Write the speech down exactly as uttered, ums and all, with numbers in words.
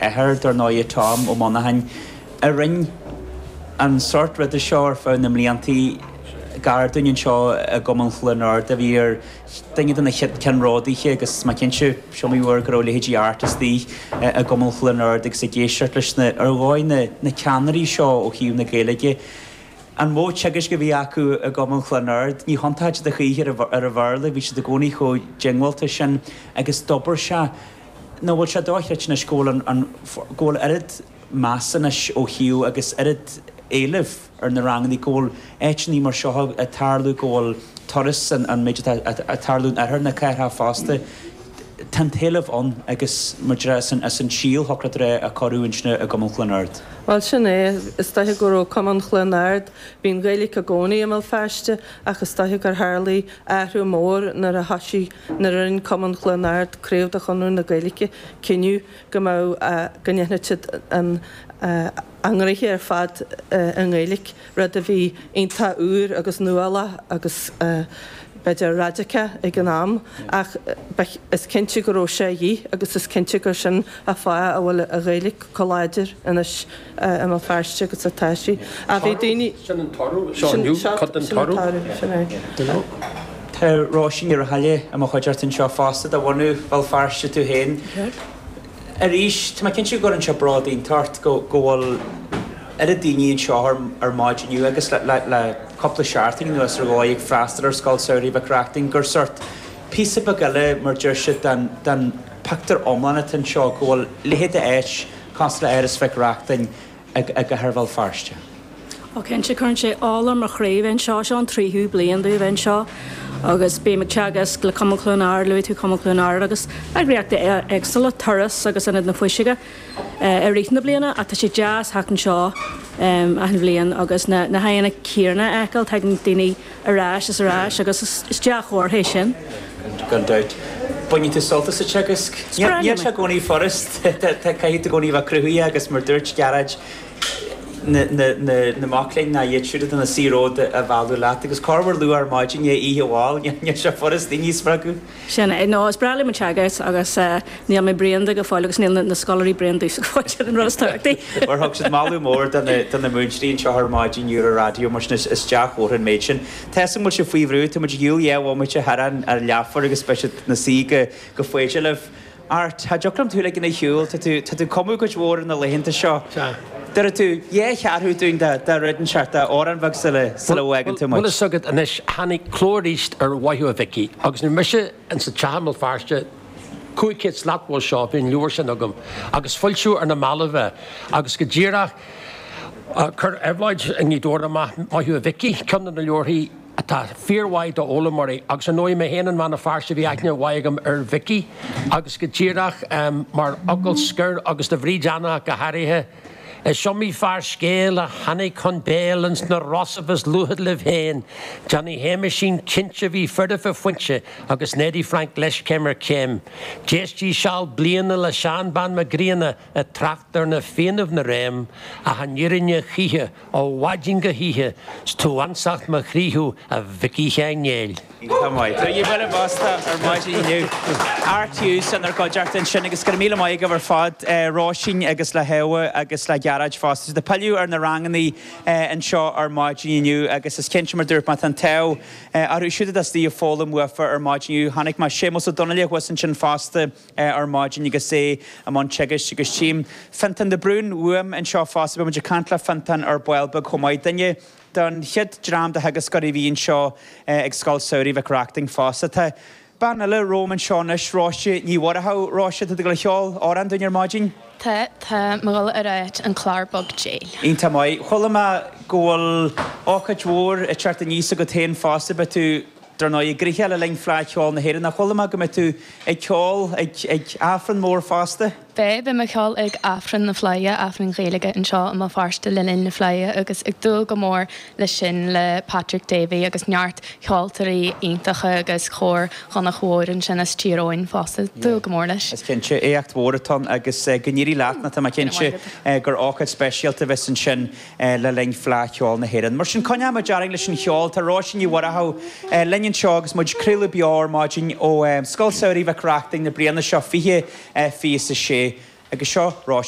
athair, dar ndóigh, Tom Ó Monacháin, a rinne an sórt ruda seo ar feadh na mbliantaí gar dúinn anseo i gCumann Chluain Ard, a bhí ar duine de na ceannródaithe agus mé cinnte is iomaí uair go raibh leithéidí Art istigh i gCumann Chluain Ard agus ag éisteacht leis na, ar dhóigh, na na ceannairí seo ó thaobh na Gaeilge. An modh teagaisc a bhí acu i gCumann Chluain Ard, ní thiontódh siad a choíche ar an Bhéarla, bhí siad i gcónaí chomh diongbháilte sin agus d'obair sé. Nó bhfuil sé dochreidte anois go bhfuil an, go bhfuil oiread meas anois ó thaobh agus oiread éilimh ar na ranganna, go bhfuil áiteanna mar seo ag tarlú, go bhfuil turas an, an méid atá ag tarlú in oirthear na cathrach fosta. Tá an t-éileamh ann agus mar a déarfá is an síol shocraithe a cuireadh ansin i gCumann Chluain Ard. Bhuel sin é, is dóiche go raibh Cumann Chluain Ard, bhí an Ghaeilge i gcónaí i mBéal Feirste ach is dóiche gur tharlaigh athrú mór nuair a thoisigh, nuair a rinne Cumann Chluain Ard, craobh de Chonradh na Gaeilge, cinneadh go mbeadh, go ndéanfadh siad an, a ngnoithe ar fad i nGaeilge, rud a bhí iontach úr agus nuálach agus b'fhéidir raidiceach ag an am, ach is cinnte go raibh sé a dhíth agus is cinnte gur sin an fáth a bhfuil an Ghaeilge chomh láidir anois i mBéal Feirste agus atá sí. Ach bhí daoine. Sin an toradh, seo inniu, cuid den toradh. Sin é. Tá Róisín Ní Raghallaigh i mo chuideachta anseo fosta, de bhunadh Bhéal Feirste tú féin. Arís, tá mé cinnte go gcuireann sé bród iontach ort go bhfuil oiread daoine anseo ar maidin inniu agus le cúpla seachtain anuas ar dhóigh ag freastal ar Scoil Samhraidh Mhic Reachtain gur sórt píosa beag eile, mar deir siad, den phictiúr iomlán atá anseo, go bhfuil leithéid de áit cosúil le Áras Mhic Reachtain i gcathair Bhéal Feirste. Ó cinnte, cuireann sé ola ar mo chroí bheith anseo. Seo an tríú bliain domh bheith anseo agus bím ag teagasc le Cumann Chluain Ard, luaigh tú Cumann Chluain Ard agus eagraíochtaí éagsúla, Turas agus Ionad na Fuiseoige i rith na bliana ach tá sé deas theacht anseo achan bhliain agus na na haghaidheanna céanna a fheiceáil, tagann daoine ar ais is ar ais agus is dea-chomhartha é sin. Gan dabht. Baineann tú sult as an teagasc? Níl sé i gcónaí furast, caithfidh tú i gcónaí bheith cruthaithe agus mar dúirt Gearóid, na mac léinn ná iad siúd atá ina suí romhat a mhealladh leat agus corruair luath ar maidin i ndiaidh oíche mhall, níl sé furast daoine a spreagadh. Sin é. No, is breá liom an teagasc agus níl mé bréan de go fóill agus níl na scoláirí bréan domhsa go fóill, sin an rud is tábhachtaí. Mar thug siad moladh mór do na múinteoirí anseo ar maidin ar an raidió mar sin is dea-chomhartha an méid sin. Tá 'fhios agam go bhfuil sibh faoi bhrú, tá muid ar shiúl dhá bhomaite thar an leathuair agus beidh siad ina suí go foighdeach libh. Art, cha dtiocfadh liom tú a ligean ar shiúl, tá tú, tá tú ag cumadh cuid mhór na laethanta seo. Sea. Déarfaidh tú dhá cheathrú dúinn de, de rud inteacht, de amhrán bheag sula, sula bhfágann tú muid. Bhfuil fhios agat anois, tháinig cló arís ar Mhaith Thú a Mhicí agus nuair mise insa teach i mBéal Feirste, cúig chéad slat uaidh seo, bhí an leabhar sin agam agus foilsíodh ar na mallaibh é agus go díreach, chuir Éabhlóid i nGaoth Dobhair amach Maith Thú a Mhicí, ceann de na leabharthaí, atá fíormhaith d'fhoghlaimeoirí agus ar ndóigh mé féin i mBeann na Feirste bhí aithne mhaith agam ar Mhicí agus go díreach mar fhocal scoir agus do Bhríd Anna go háirithe, is iomaí fear scéil a tháinig chun béil ins na Rosaibh is luaithe libh féin, Johnny Shéamaisín cinnte bhí foirfe fuinte agus Neddy Frank leis céim ar chéim. D'éistí seal bliana le Seán Bán Mac Grianna ag trácht ar na Fiannaibh 'na réim ach an fhírinne choíche Ó mhaidin go hoíche 's tú ansacht mo chroí thú a Mhicí Sheáin Néill. Iontach maith. Tá you buille bos ar maidin inniu. Art Hughes inár gcuideachta ansin agus go raibh míle maith agaibh ar fad, Róisín agus le hÉabha agus le Gearóid fosta. Tá siad ag pilleadh ar na rangannaí anseo ar maidin inniu agus is cinnte mar dúirt mé tá an t-ádh orthu siúd atá istigh ag foghlaim uafa ar maidin inniu. Chonaic mé Séamus Ó Donnaile thuas ansin fosta. ar maidin agus é i mbun teagaisc agus tchím Fiontán de Brún uaim anseo fosta. Beidh muid ag caint le Fiontán ar ball beag chomh maith. Duine den chéad dream de theagascóirí a bhí anseo ag Scoil Samhraidh Mhic Reachtain fosta. Tá bean eile romham anseo anois, Róise Ní Mhuireadhaigh. Róise, tá tú ag dul a cheol amhrán dúinn ar maidin? Tá, tá mé ag dul a ráit An Clár Beag Déil. Iontach maith. Chuala mé go bhfuil ócáid mhór ag teacht aníos agat féin fosta. Beidh tú Dar ndóigh, gnoitheach le linn Fleadh Cheoil na hÉireann, ach chuala mé go mbeidh tú ag ceol ag Aifreann mór fosta? Beidh, beidh mé ag ceol ag Aifreann na Fleidhe, Aifreann Gaeilge anseo i mBéal Feirste le linn na Fleidhe agus ag dúil go mór leis sin le Patrick Davey agus neart ceoltóirí iontacha agus cór Dhonncha Mhóir ansin as Tír Eoghain fosta. Dúil go mór leis. Is cinnte, éacht mhór atá ann agus go n-éirí leat nó tá mé cinnte gur ócáid speisialta a bheas ansin. le linn Fleadh Cheoil na hÉireann. Mar sin, coinneoidh muid orainn leis an cheol. Tá Róisín Ní Mhuireadhaigh linn anseo agus muid ag craoladh beo ar maidin ó Scoil Samhraidh Mhic Reachtain na bliana seo fiche fiche is a sé. Agus seo Róisín.